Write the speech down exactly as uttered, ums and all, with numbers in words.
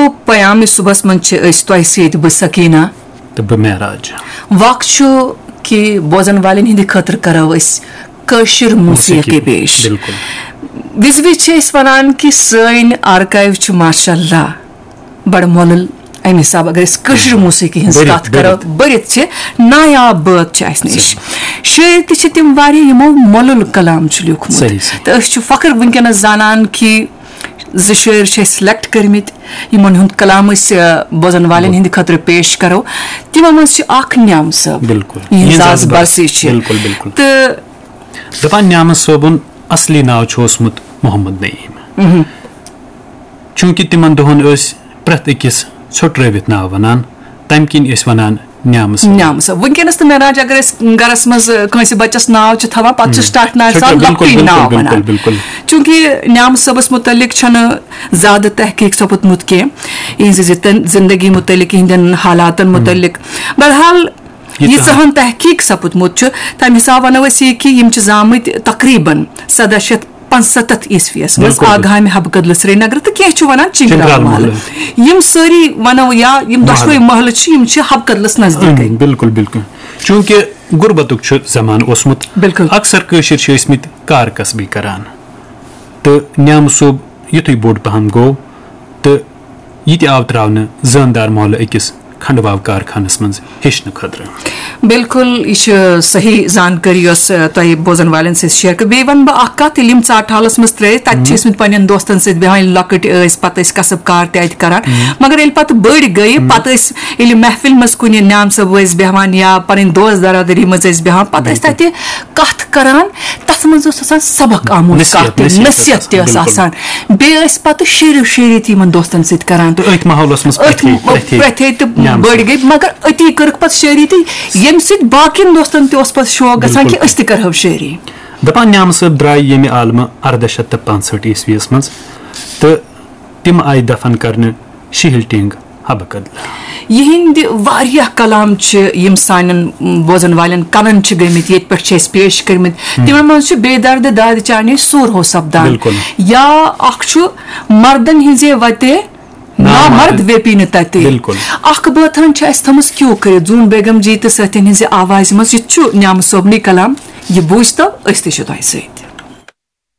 پیام صبحس منٛز چھِ أسۍ تۄہہِ سۭتۍ بہٕ سکیٖنہ۔ تہٕ بہٕ معراج۔ وق چھُ کہِ بوزن والٮ۪ن ہٕنٛدِ خٲطرٕ کرو أسۍ کٲشِر موسیقی موسیقی۔ پیش۔ بالکل۔ وِزِ وِزِ چھِ أسۍ وَنان کہِ سٲنۍ آرکایو چھِ ماشاء اللہ بڑٕ مۄلُل۔ اَمہِ حساب اگر أسۍ کٲشِر موسیقی ہٕنٛز بٔرِتھ، کَتھ کَرو، بٔرِتھ۔ بٔرِتھ چھِ نایاب بٲتھ چھِ اَسہِ نِش۔ شٲعر تہِ چھِ تِم واریاہ یِمو مۄلُل کلام چھُ لیوٗکھمُت۔ صحیح، صحیح۔ تہٕ أسۍ چھِ فخر وٕنکیٚنَس زانان کہِ زٕ شٲعر چھِ اَسہِ سِلیکٹ کٔرمٕتۍ، یِمَن ہُنٛد کلام أسۍ، آ، بوزَن والٮ۪ن ہٕنٛدِ خٲطرٕ پیش کَرو۔ تِمَن منٛز چھِ اکھ نیام صٲب، بالکل۔ یِہٕنٛز یِہٕنٛز آز آز برسی چھِ۔ بالکل، بالکل۔ تہٕ دَپان نیامہٕ صٲبُن اصلی ناو چھُ اوسمُت محمد نعیٖم۔ چوٗنٛکہِ تِمن دۄہن ٲسۍ پرٛٮ۪تھ أکِس ژھۄٹرٲوِتھ ناو وَنان، تَمہِ کِنۍ ٲسۍ وَنان نیامہٕ صٲب۔ نیام صٲب۔ وٕنکیٚنَس تہٕ معراج اگر أسۍ گَرَس منٛز، آ، کٲنٛسہِ بَچَس ناو چھِ تھاوان، پَتہٕ چھِ سٹاٹ ناوِ چھُ سان بِلکُل، لۄکٹُے بِلکُل، ناو بِلکُل، وَنان۔ بِلکُل۔ چوٗنٛکہِ نیام صٲبَس مُتعلِق چھَنہٕ زیادٕ تحقیٖق سَپُدمُت کینٛہہ، یِہٕنٛزِ زِتن-، زِندگی مُتعلِق، یِہِنٛدٮ۪ن حالاتَن مُتعلِق۔ بہرحال، ییٖژاہ۔ ییٖژاہَن تحقیٖق سَپُدمُت چھُ، تَمہِ حِسابہٕ وَنو أسۍ یہِ کہِ یِم چھِ زامٕتۍ تقریٖباً سَداہ شیٚتھ پانٛژھ سَتَتھ عیسویَس منٛز بِلکُل، بِلکُل۔ آگامِ حبہٕ کدلہٕ سرینگرٕ تہٕ کینٛہہ چھِ وَنان چِنٛگرال چِنٛگرال محلہٕ۔ محلہٕ۔ یِم سٲری وَنو یا یِم دۄشوَے محلہٕ۔ محلہٕ چھِ، یِم چھِ حبہٕ کدلَس نزدیٖکٕے۔ اۭں، بِلکُل، بِلکُل۔ چوٗنٛکہِ غُربتُک چھُ زمانہٕ اوسمُت، بِلکُل۔ اکثر کٲشِر چھِ ٲسمٕتۍ کار کسبٕے کران، تہٕ نیامہٕ صٲب یُتھُے بوٚڑ پہم گوٚو، تہٕ یہِ تہِ آو ترٛاونہٕ زٲندار محلہٕ أکِس کھنٛڈواو کارخانس منٛز ہیٚچھنہٕ خٲطرٕ۔ بِلکُل، یہِ چھِ صحیح زانکٲری یۄس، آ، تۄہہِ بوزن والٮ۪ن سۭتۍ شیئر کٔر۔ بیٚیہِ وَنہٕ بہٕ اَکھ کَتھ، ییٚلہِ یِم ژاٹہٕ حالَس منٛز ترٛٲے، تَتہِ چھِ ٲسمٕتۍ پنٛنٮ۪ن دوستَن سۭتۍ بیٚہوان، ییٚلہِ لۄکٕٹۍ ٲسۍ، پَتہٕ ٲسۍ کَسٕب کار تہِ اَتہِ کَران۔ مگر ییٚلہِ پَتہٕ بٔڑۍ گٔیہِ، پَتہٕ ٲسۍ ییٚلہِ محفِل منٛز کُنہِ نیام صٲب ٲسۍ بیٚہوان یا پَنٕنۍ دوست دَرادٔری منٛز ٲسۍ بیٚہوان، پَتہٕ ٲسۍ تَتہِ کَتھ کَران، تَتھ منٛز اوس آسان سبق آموز، نصیحت، کَتھ تہِ، نصیحت نصیحت ٲس تہِ ٲس بِلکُل۔ آسان۔ بیٚیہِ ٲسۍ پَتہٕ شعر و شٲعری تہِ یِمَن دوستَن سۭتۍ کَران۔ تہٕ أتھۍ ماحولس منٛز أتھۍ پرٛتھے، پرٛتھے پرٛتھے تہٕ نیام بٔڑۍ صٲب۔ گٔے، مگر أتی کٔرٕکھ پَتہٕ شٲعری تہِ، ییٚمہِ سۭتۍ باقین دوستن تہِ اوس پَتہٕ شوق گژھان کہِ بِلکُل۔ أسۍ تہِ کَرہو شٲعری۔ دَپان نیامہٕ صٲب درٛاے ییٚمہِ عالمہٕ اَرداہ شیٚتھ تہٕ پانٛژہٲٹھ عیسویَس منٛز، تہٕ تِم آیہِ دفن کرنہٕ شِہِل ٹینگ حبہٕ کدلہٕ۔ یِہِنٛدِ واریاہ کلام چھِ یِم سانٮ۪ن بوزن والٮ۪ن کَنن چھِ گٔمٕتۍ، ییٚتہِ پٮ۪ٹھ چھِ اَسہِ پیش کٔرمٕتۍ۔ تِمن منٛز چھُ بے درد داد چانے سور ہو سپدان۔ بِلکُل۔ یا اَکھ چھُ مردن ہِنٛزے وتے نامرد ویپی نہٕ تَتہِ۔ بِلکُل۔ اَکھ بٲتھ ہن چھِ اَسہِ تھٲمٕژ کیو کٔرِتھ زوٗن بیگم جی تہٕ سٲتھٮ۪ن ہِنٛزِ آوازِ منٛز۔ یہِ تہِ چھُ نیامہٕ صٲبنٕے کلام۔ یہِ بوٗزتو، أسۍ تہِ چھِ تۄہہِ سۭتۍ۔